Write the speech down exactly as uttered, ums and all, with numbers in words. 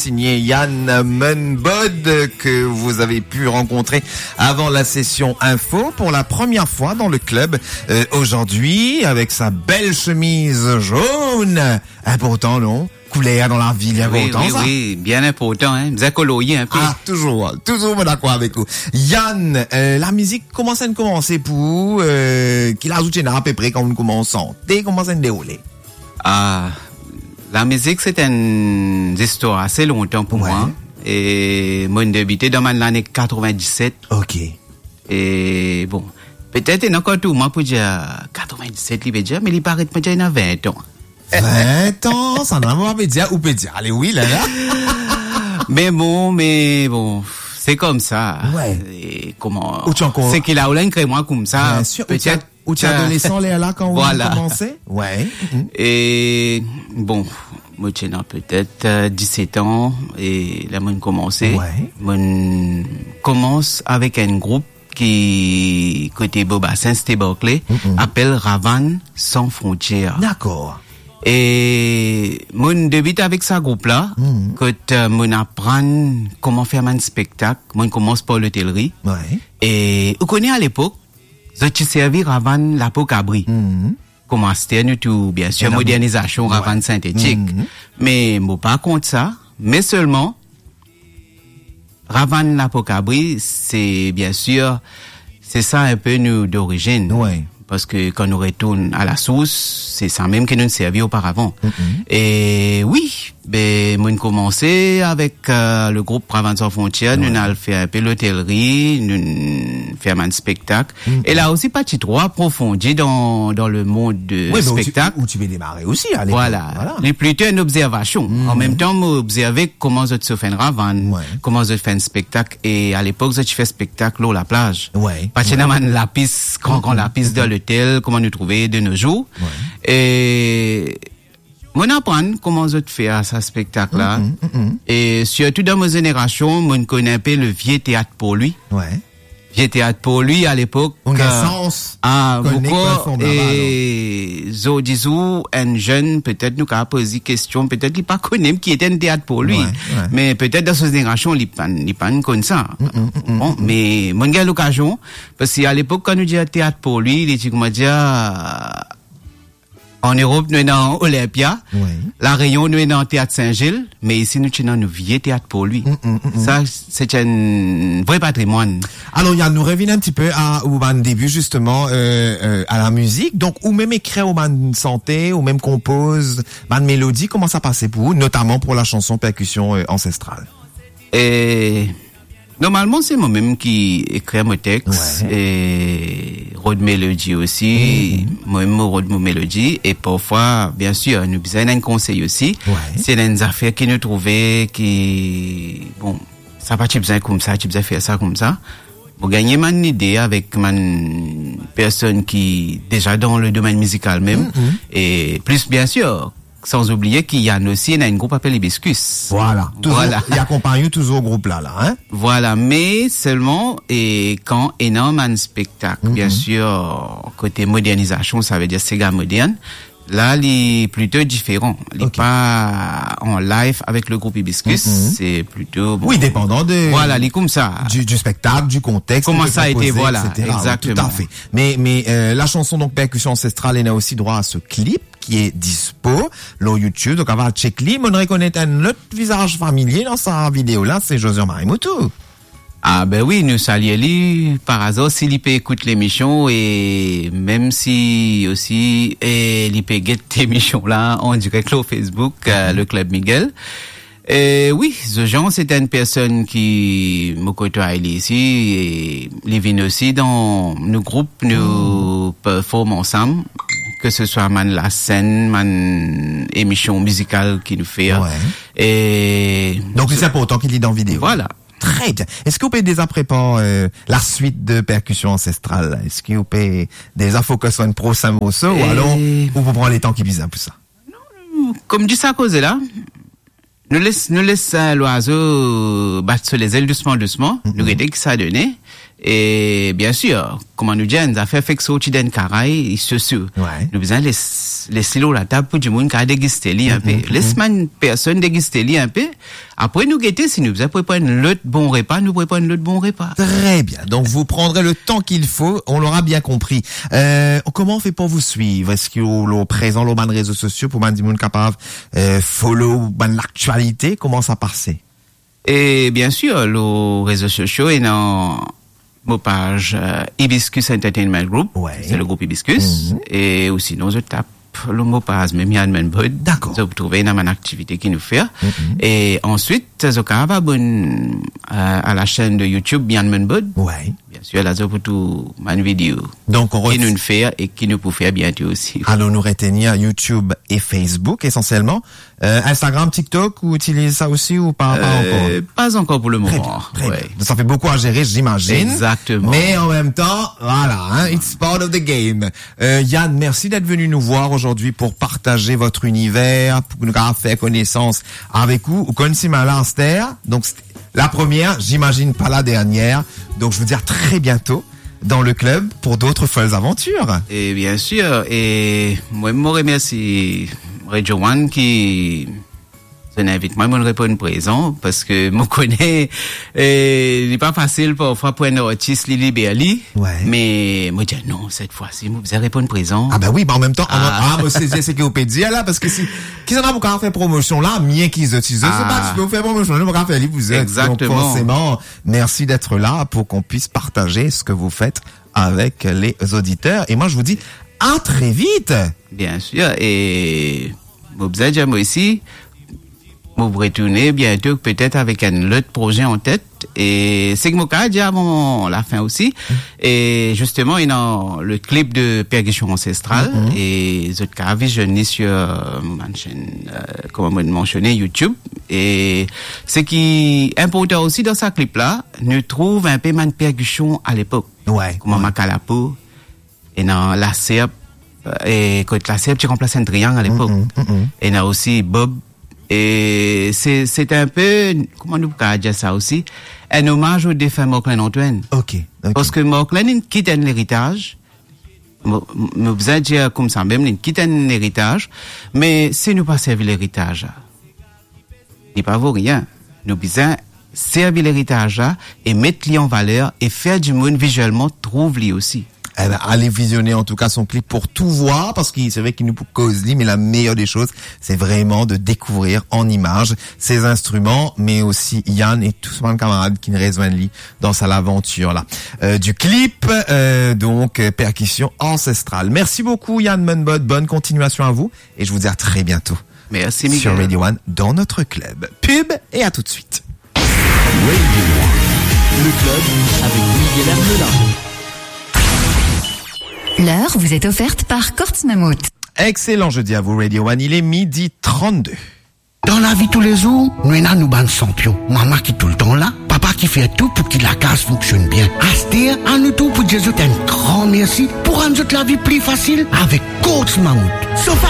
signé Yann Munbod, que vous avez pu rencontrer avant la session info pour la première fois dans le club, euh, aujourd'hui, avec sa belle chemise jaune. Inportan, non? Kouler dan lavi, li inportan, sa. Wi, bien inportan, hein. Bizin kolorye inpe. Ah, touzour, touzour, mo dakor avek ou. Yann, euh, lamizik, kouma sa inn koumanse pou ou, euh, ki laz ou ti ena apepre kan ou koumanse sante, kouma sa inn deroule? Ah, lamizik, se enn zistwar ase lontan pou mwa. E mo inn debite dan bann lane katrevin-diset. Ok. E bon, petet ena ankor tou, mo pou dir katrevin-diset li pe dir, me li paret mo dir ena vin an. Vin an, sa nanye pa pe dir, ou pe dir, ale wi, la, la. Me bon, me bon, se koumsa. Wi. E kouma, ou ti ankor, se ki la ou la inn kre mwa koumsa, bien sir, ou ti, petet ou ti adolesan lerla kan ou koumanse? Wi. E bon, mo ti ena petet, euh, diset an, e la mo inn koumanse. Wi. Mo inn koumans avek enn group ki kote Bobasens, Thé Barclay, apel Ravane San Frontières. Dakor. E mo inn debit avek sa group la, kot, euh, mo inn aprann kouma fer bann spektak. Mo inn koumans par lotelri. Wi. E ou kone, alepok, zot ti servi Ravane lapo kabri. Kouma aster nou tou, bien sir, modernizasion, Ravane sintetik. Me mo pa kont sa, me selman, Ravane lapo kabri, se, bien sir, se sa inpe nou dorizinn. Wi. Parski kan nou retourn a la sours, se sa mem ki nou servi oparavan. E wi, be, mo inn koumanse avek, euh, le group Ravane San Frontières, nou inn al fer inpe lotelri, nou inn fer bann spektak. E la osi, pa ti tro aprofondi dan, dan le mond de spektak. Wi, be ou ti, ou ti pe demare osi, alepok. Vwala. Li plito enn obzervasion. An mem tan, mo obzerve kouma zot sof enn ravane, kouma zot fer enn spektak. E alepok, zot ti fer spektak lor laplaz. Wi. Pa ti ena bann lapis, gran, gran lapis dan lotel, kouma nou trouve de nos jours. Wi. E mo inn aprann kouma zot fer sa spektak la. E sirtou dan mo zenerasion, mo inn konn inpe le vie teat Porlwi. Wi. Vie teat Porlwi, alepok, ou ena, euh, sans, ah, kone ankor, perform laba, alor. E zordi zour, enn zenn, petet nou kapav poz li kestion, petet li pa kone mem ki ete enn teat Porlwi. Wi, wi. Me petet dan so zenerasion, li pa, li pa konn sa. Bon, me mo inn gagn lokazion, parski alepok, kan nou dir teat Porlwi, li ti, kouma dir, an Erop, nou ena Olympia. Wi. La Reyon, nou ena Teat Sin Zil, me isi, nou ti ena nou vie teat Porlwi. Sa, se enn vre patrimwann. Alor, Yann, nou revinn enn tipe a ou bann debi, zisteman, euh, euh, a lamizik. Donk, ou mem ekrir ou bann sante, ou mem konpoz bann melodi, kouma sa pase pou ou, notaman pou la chanson percussion, euh, ancestrale? E normalman, se mo mem ki ekrir mo text, wi, e rod melodi osi. Mo mem mo rod mo melodi, e parfwa, bien sir, nou bizin enn konsey osi. Wi. Si ena enn zafer ki nou trouve ki, bon, sa pa ti bizin koumsa, ti bizin fer sa koumsa. Mo gagn bann lide avek bann personn ki deza dan le domenn mizikal mem. E plis, bien sir, san oubliye ki Yann osi ena enn group apel Hibiscus. Vwala, touzour, vwala, li akonpagn ou touzour group la, la, hein? Vwala, me selman, e kan ena bann spektak, bien sir, kote modernizasion, savedir sega modern, la, li plito diferan. Li pa an live avek le group Hibiscus, se plito, bon, wi, depandan de, vwala, li koumsa, du, du spektak, du kontext, kouma sa ete, vwala, egzakteman. Wi, tout à fait. Me, me, euh, la chanson, donk, Percussion Ancestrale, ena osi drwa a so clip ki est dispo lor YouTube, donk, ava check li. Mo rekonet enn lot vizaz familie dan sa video la, se Josian Marie Moutou. Ah, ben wi, nou salie li, par azar, si li pe ekout lemision, e mem si osi, e li pe get lemision la an direk lor Facebook, euh, le Club Miguel. E wi, Josian, se enn personn ki mo kotway li isi, e li vinn osi dan nou group, nou perform ansam, ke se swa bann lasenn, bann emision mizikal ki nou fer. Wi. E donk, li inportan ki li dan video. Vwala. Tre bien. Eski ou pe deza prepar, euh, la suite de Percussion Ancestrale? Eski ou pe deza focus lor enn prosin morso, ou alor ou pou pran letan ki bizin pou sa? Non, non, kouma dir sa koze la, nou les, nou les, euh, lwazo bat so lezel dousman, dousman. Nou gete ki sa done. E, bien sir, kouma nou dir, enn zafer fek sorti dan enn karay, sosio. Wi. Nou bizin les, les li lor latab pou dimoun kapav degiste li enpe. Mhm, mhm. Les bann personn degiste li enpe. Apre, nou gete, si nou bizin prepar enn lot bon repa, nou prepar enn lot bon repa. Très bien. Donc, vous prendrez le temps qu'il faut. On l'aura bien compris. Euh, comment on fait pour vous suivre ? Est-ce que vous êtes présent sur les réseaux sociaux pour que les gens puissent, euh, follow, ben, l'actualité ? Comment ça passe ? E bien sir, lor rezo sosio, ena mo paz, euh, Hibiscus Entertainment Group, wi, se le group Hibiscus, mhm, e ou sinon, zot tap lor mo paz mem Yann Munbod. Dakor. Zot pou trouve ena bann aktivite ki nou fer. Mhm. E answit, zot kapav abone, euh, a la chaîne de YouTube Yann Munbod. Wi. Bien sir, la zot pou trouve bann video, donk, on ki ret- nou fer e ki nou pou fer biento osi. Alors, nous retenir YouTube et Facebook essentiellement. Euh, Instagram, TikTok, vous utilisez ça aussi ou pas, pas encore ? Euh, pas encore pour le moment. Très bien, très bien. Ouais. Ça fait beaucoup à gérer, j'imagine. Exactement. Mais en même temps, voilà, hein, it's part of the game. Euh, Yann, merci d'être venu nous voir aujourd'hui pour partager votre univers, pour nous faire connaissance avec vous. Ou konn si mwa la, aster, donc, c'est la première, j'imagine pas la dernière. Donc, je vous dis à très bientôt dans le club pour d'autres folles aventures. E bien sir, e mwa, mo remersi Radio One ki zot invit mwa, mo reponn prezan, parski mo kone, e, li pa fasil parfwa pou enn artis li liber li, wi, me mo dir, "Non, set fwa si, mo bizin reponn prezan." Ah ben wi, me an mem tan, ah, mo sezi seki ou pe dir la, parski si, ki sa nou pou kapav fer promosion la, mie ki zot, si zot, se pa, ah, ti pe fer promosion, nou pa kapav fer li pou zot. Exactement. Donc, forcément, merci d'être là pour qu'on puisse partager ce que vous faites avec les auditeurs. Et moi, je vous dis à très vite. Bien sir, e mo bizin dir mwa osi, mo pou retourne biento, petet avek enn lot proze an tet. E seki mo kapav dir avan lafin osi, e zisteman, ena le clip de Percussion Ancestrale, mhm, e zot kapav visionn li sur, euh, mon chaîne, euh, kouma mo mansione, YouTube. E seki inportan osi dan sa clip la, nou trouv inpe bann perkision a lepok. Wi, kouma, wi, makalapo, ena laserp, e kot laserp ti ranplas enn triang a lepok. Mm, mm, mm, mm. Ena osi bob. E se, se inpe, kouma nou kapav dir sa osi, enn omaz o defin Marclin Antoine. Ok, ok. Parski Marclin inn kit enn leritaz, mo, mo bizin dir koumsa mem, li inn kit enn leritaz, me si nou pa servi leritaz la, li pa vo rien. Nou bizin servi leritaz la e met li an valer e fer dimoun vizielman trouv li osi. Eh ben, allez visionner en tout cas son clip pour tout voir, parce que c'est vrai qu'il nous cause lui, mais la meilleure des choses, c'est vraiment de découvrir en images ses instruments, mais aussi Yann et tout son camarade qui nous rejoignent lui dans sa l'aventure là. Euh, du clip, euh, donc, euh, Percussion Ancestrale. Merci beaucoup Yann Munbod, bonne continuation à vous et je vous dis à très bientôt. Merci, Miguel. Sur Radio One, dans notre club. Pub et à tout de suite. Radio One, le club avec Miguel Hermelin. L'heure vous est offerte par Courts Mammouth. Excellent jeudi à vous, Radio One. Il est midi trente-deux. Dan lavi toulezour, nou ena nou bann sanpion. Mama ki toultan la, papa ki fer tou pou ki lakaz fonksionn bien. Aster, anou tou pou dir zot enn gran mersi pou rann zot lavi pli fasil avek Courts Mammouth. Sofa